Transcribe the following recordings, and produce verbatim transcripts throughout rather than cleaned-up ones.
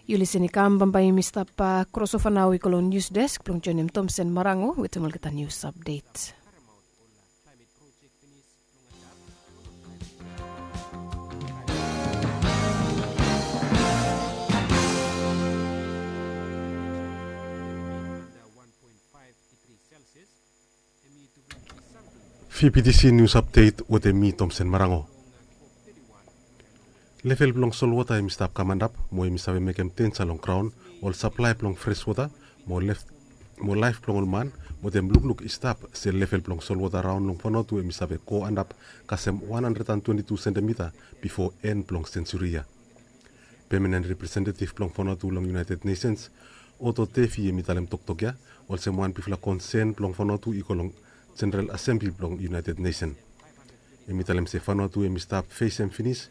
Yu lisen i kam bambae yumi stap krosova nao i go long nius desk blong joinim Tomsen Marango wetem olgeta nius apdet. Fipitisi nius apdet wetem mi Tomsen Marango. Level blong solwota hem i stap kam antap mo hem i save mekem denja long graon ol saplae blong freswota mo laef blong ol man. Wetem lukluk i stap se level blong solwota raon long Vanuatu hem i save go antap kasem wan handred an twenti tu sentimita bifo en blong sensuri ya. Pemanen representetiv blong Vanuatu long United Nesens, Oto Tefi hem i talem toktok ya olsem wan bigfala konsen blong Vanuatu i go long Jeneral Asembli blong United Nesen. Hem i talem se Vanuatu hem i stap fesem finis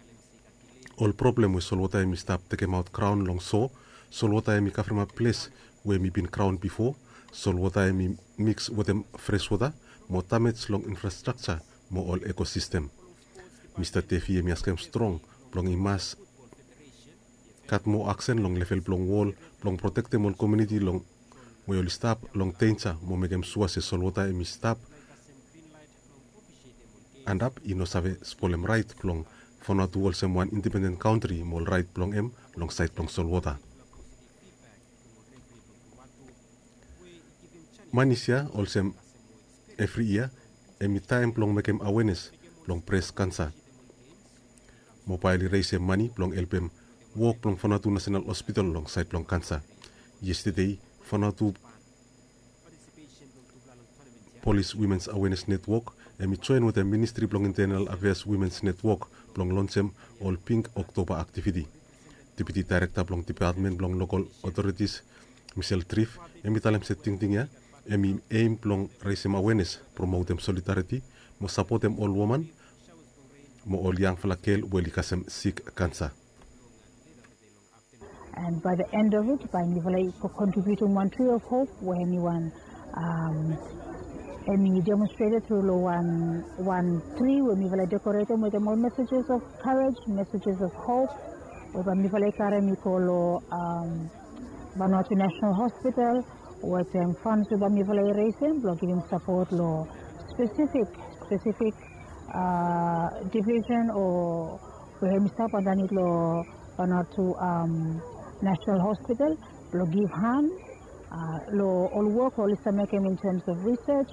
ol problem we solwota hem i stap tekemaot graon long so solwota hem i kavremap ples we hem i bin graon bifo, solwota hem i miks wetem freswota mo damej long infrastrakja mo ol ekosistem. Mista Tefi hem i askem strong blong i mas gat moa aksen long level blong wol blong protektem ol komuniti long we oli stap long denja mo mekem sua se solwota hem i stap antap i no save spolem raet blong Vanuatu olsem wan indipenden kantri mo ol raet blong hem long saed blong solwota. Manis ya olsem evri yia hem i taem blong mekem awenes long bres kansa. Mobael i resem mani blong helpem wok blong Vanuatu Nasenal Hospital long saed blong kansa. Yestede Vanuatu Polis Wimens Awenes Netwok hem i joen wetem Ministri blong Intenal Afeas Wimens Netwok blong lonsem ol Pink Oktoba aktiviti. Deputi Daerekta blong Depatmen blong Lokal Otoritis Misel Trif hem i talem se tingting ya hem i eim blong resem awenes, promotem solidariti mo sapotem ol woman mo ol yangfala gel we oli kasem sik kansa. And by the end of it, bae mifala i kontribiutim wan Tree of Hope we hemi wan hemi demonstrated tru long wan tri we mifala i dekoretem wetem ol messages of courage, messages of hope we bae mifala i karem i go long Vanuatu National Hospital wetem funds we bae mifala i resem blong givim sapot long specific specific division o we hemi stap andanit long Vanuatu National Hospital blong givhan long ol wok we oli stap mekem in terms of research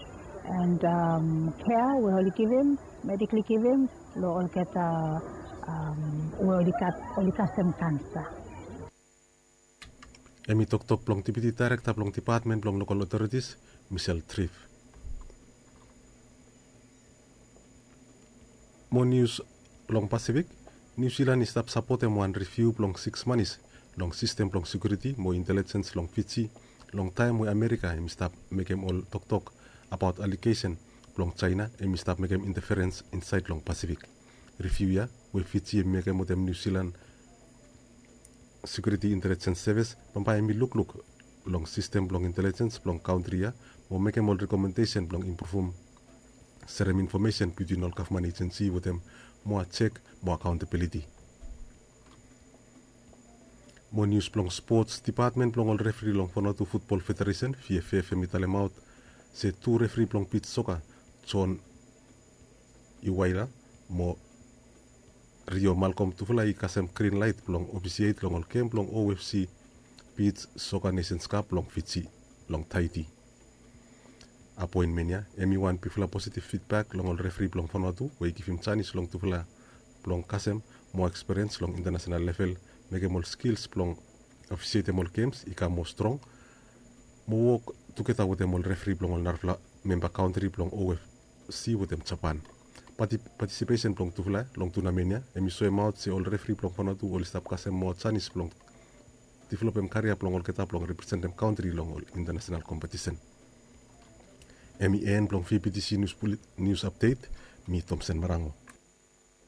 and care we oli givim, medically givim long olgeta we oli kasem kansa. Hemi toktok blong Deputi Daerekta blong Depatmen blong Lokal Otoritis Misel Trif. Mo nius long Pasifik. Niu Silan i stap sapotem wan riviu blong siks manis long sistem blong sekiuriti mo intelejens long Fiji long taem we Amerika hem i stap mekem ol toktok abaot alegesen blong Jaena hem i stap mekem inteferens insaed long Pasifik. Riviu ya we Fiji hem i mekem wetem Niu Silan Sekiuriti Intelejens Sevis bambae hem i lukluk long sistem blong intelejens blong kantri ya mo mekem ol rekomendesen blong impruvum serem infomesen bitwin ol gavman ejensi wetem moa jek mo akaontabiliti. Mo nius blong spots, depatmen blong ol refri long Vanuatu Futbol Federesen, V F F, hem i talemaot se tu refri blong bij soka, John Iwaila mo Rio Malcolm, tufala i kasem grin laet blong ofisiet long ol gem blong O F C Bij Soka Nesens Kap blong Fiji long Taiti. Apoenmen ya hem i wan bigfala positiv fidbak long ol refri blong Vanuatu we i givim janis long tufala blong kasem moa ekspiriens long intanasenal level, mekem ol skils blong ofisietem ol gems i kam moa strong, mo wok tugeta wetem ol refri blong ol narafala memba kantri blong O F C wetem Japan. Patisipesen blong tufala long tunamen ya hem i soemaot se ol refri blong Vanuatu oli stap kasem moa janis blong developem karia blong olgeta blong representem kantri long ol intanasenal kompetisen. Hem i en blong V B T C Nius Apdet. Mi Tomsen Marango.